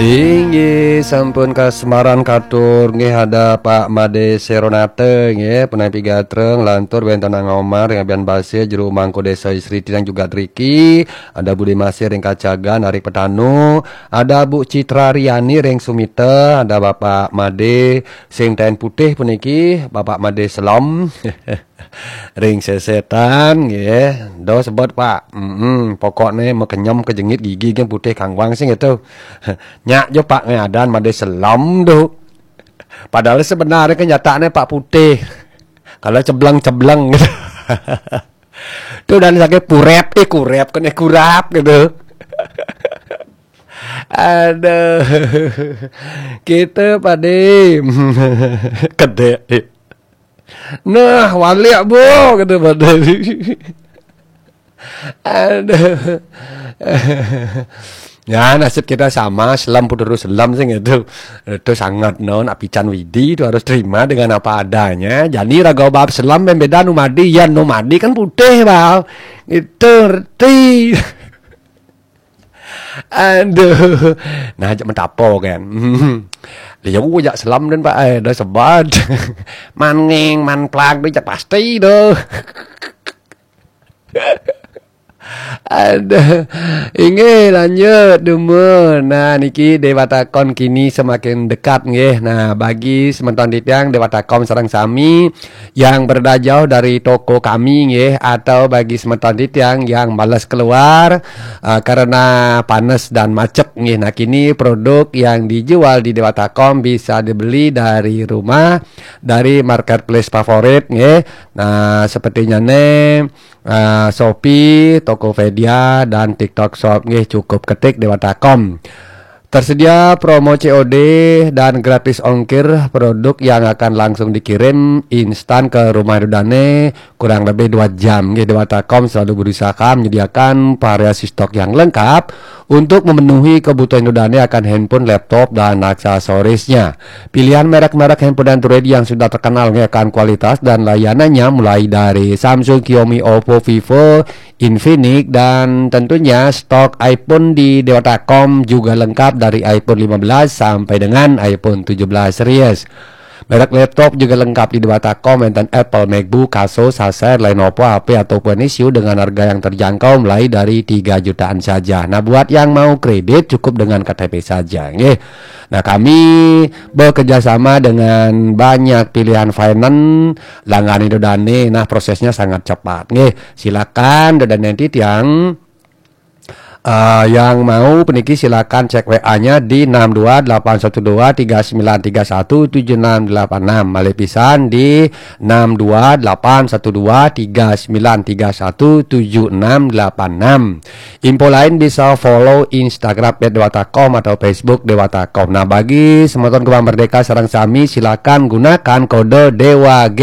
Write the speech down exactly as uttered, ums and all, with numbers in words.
Inggih, sampun kasemaran katur nggih, ada Pak Made Seronate nggih, punampi gatra nglantur wénten Ang Omar ring Abian Basir, jero mangku Désa Istri Tiang juga driki, ada Bude Masir ring Kacagan, Arik Petanu, ada Bu Citra Riani ring Sumita, ada Bapak Made sing taén putih puniki, Bapak Made Selem. Ring sesetan nggih. Do sebet, Pak. Mm-mm, pokokne makenyem kejengit gigi yang putih kangwang sing itu. Nyak jo, Pak, ngadan Made Selem do. Padahal sebenarnya kenyataannya Pak putih. Kalau cebleng-cebleng gitu. Tuh dan sakit purep, eh kurep, kena kurap gitu. Aduh. Kita Pade. Kedek. Nah, walik, Bu, kata Pade. Aduh. Ya, nasib kita sama, Selem pun terus Selem sing itu. Itu sangat no, nak pican Widi itu harus terima dengan apa adanya. Jadi raga bab Selem beda nu Made, ya nu Made kan putih, Bang. Itu ngerti. Aduh. Nah, ajak mentapo kan. Dia jak Selem dan Pak, eh, dah sebat. Maning, manplag, dia jak pasti dah. Aduh. Inggih, lanjut dumun. Nah, niki Dewata Kom kini semakin dekat nggih. Nah, bagi semeton titiang Dewata Kom sareng sami yang berada jauh dari toko kami nggih, atau bagi semeton titiang yang males keluar uh, karena panas dan macet nggih. Nah, kini produk yang dijual di Dewata Kom bisa dibeli dari rumah, dari marketplace favorit nggih. Nah, sepertinya nih uh, Shopee, Tokopedia, dan TikTok Shop nggih, cukup ketik Dewata Kom. Tersedia promo C O D dan gratis ongkir, produk yang akan langsung dikirim instan ke rumah Ida Dane kurang lebih dua jam. Nggih, Dewata Kom selalu berusaha menyediakan variasi stok yang lengkap untuk memenuhi kebutuhan Ida Dane akan handphone, laptop, dan aksesorisnya. Pilihan merek-merek handphone Android yang sudah terkenal nggih akan kualitas dan layanannya, mulai dari Samsung, Xiaomi, Oppo, Vivo, Infinix, dan tentunya stok iPhone di Dewata Kom juga lengkap, dari iPhone lima belas sampai dengan iPhone tujuh belas series. Merek laptop juga lengkap di Dewata Kom, wénten Apple, MacBook, Asus, Acer, Lenovo, H P ataupun Asus dengan harga yang terjangkau, mulai dari tiga jutaan saja. Nah, buat yang mau kredit, cukup dengan K T P saja nggih. Nah, kami bekerja sama dengan banyak pilihan finance, langgani Ida Dane. Nah, prosesnya sangat cepat nggih. Silakan Ida Dane titiang eh, yang mau puniki silakan cek W A-nya di enam dua delapan satu dua tiga sembilan tiga satu tujuh enam delapan enam. Malih pisan di enam dua delapan satu dua tiga sembilan tiga satu tujuh enam delapan enam. Info lain bisa follow Instagram at dewata kom atau Facebook Dewata Kom. Nah, bagi semeton Gema Merdeka sareng sami, silakan gunakan kode Dewa G